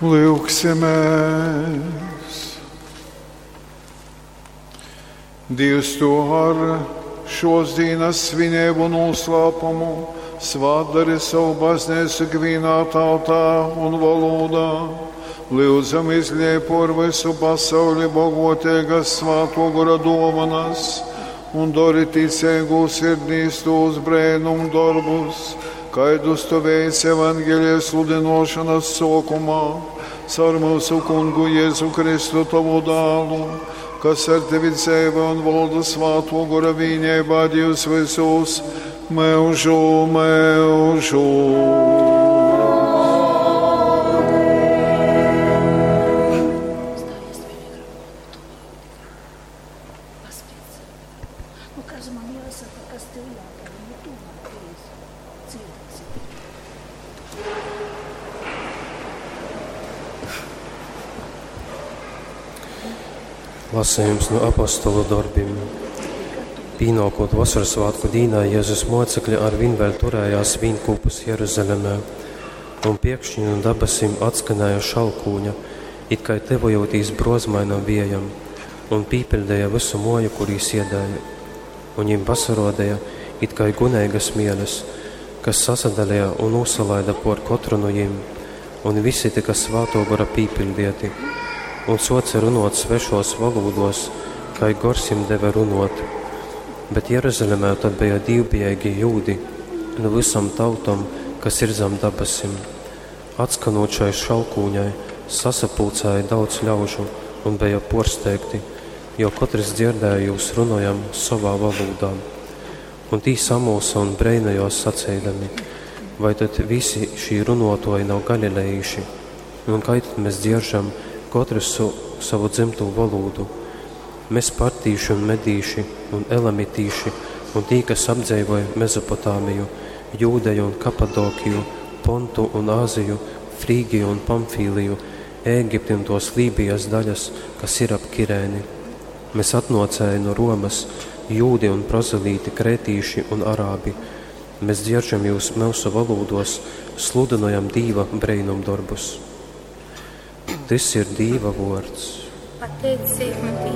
Lyugsimēs! Dievs to ar šos dienas svinību noslēpumu svētdari savu baznīcu ikvienā tautā un valodā. Lūdzam izliej por visu pasauli bogotīgas svāto gora dovanas un dori ticīgu sirdīs tos brēnum darbus, kaidus tu veic evangelijas sludinošanas sākumā, caur mūsu kungu Jēzu Kristu tavu dālu, kas ar tevi dzīvo un valda svāto gora vienībā Dievs visus mūžu mūžu. Stājies pie mikrofona tuvāk tikai. Paspiedz. Nu, kas man jāsaka, kas tev jādara? Nu, tuvāk lūdzu. Dzirdēsi. Lasījums no apostolu darbiem. Pīnākot vasaras svētku dīnā, Jēzus mocekļi arvien vēl turējās vīnkūpus Jeruzalemē, un piekšņi no dabasim atskanēja šalkūņa, it kā tevojotīs brozmainam viejam, un pīpiļdēja visu moju, kur jīs iedēja. Un viņiem pasarodēja it kā guneigas mieles, kas sasadalīja un uzsalaida por katru no jiem, un visi tika svāto gora pīpiļdieti, un soca runot svešos valūdos, kā gors jim deva runot. Bet Jeruzalemē tad bija dīvbijīgi jūdi no visam tautom, kas ir zem dabasim. Atskanot šai šalkūņai, sasapulcēja daudz ļaužu un bija porsteigti, jo katrs dzirdēja jūs runojam savā valodā. Un tī samulsa un breinējos sacīdami, vai tad visi šī runotoji nav galilejīši, un kā tad mēs dzieržam katrs su, savu dzimto valodu? Mēs partīši un medīši un elamitīši un tī, kas apdzīvoja Mezopotāmiju, Jūdeju un Kapadokiju, Pontu un Āziju, Frīgiju un Pamfīliju, Ēgipti un tos Lībijas daļas, kas ir ap Kirēni. Mēs atnocēji no Romas, jūdi un prozelīti, krētīši un arābi. Mēs dzieržam jūs mūsu valodos, sludinojam Dīva brēnumdarbus. Tys ir Dīva vārds. Pateicība Dievam.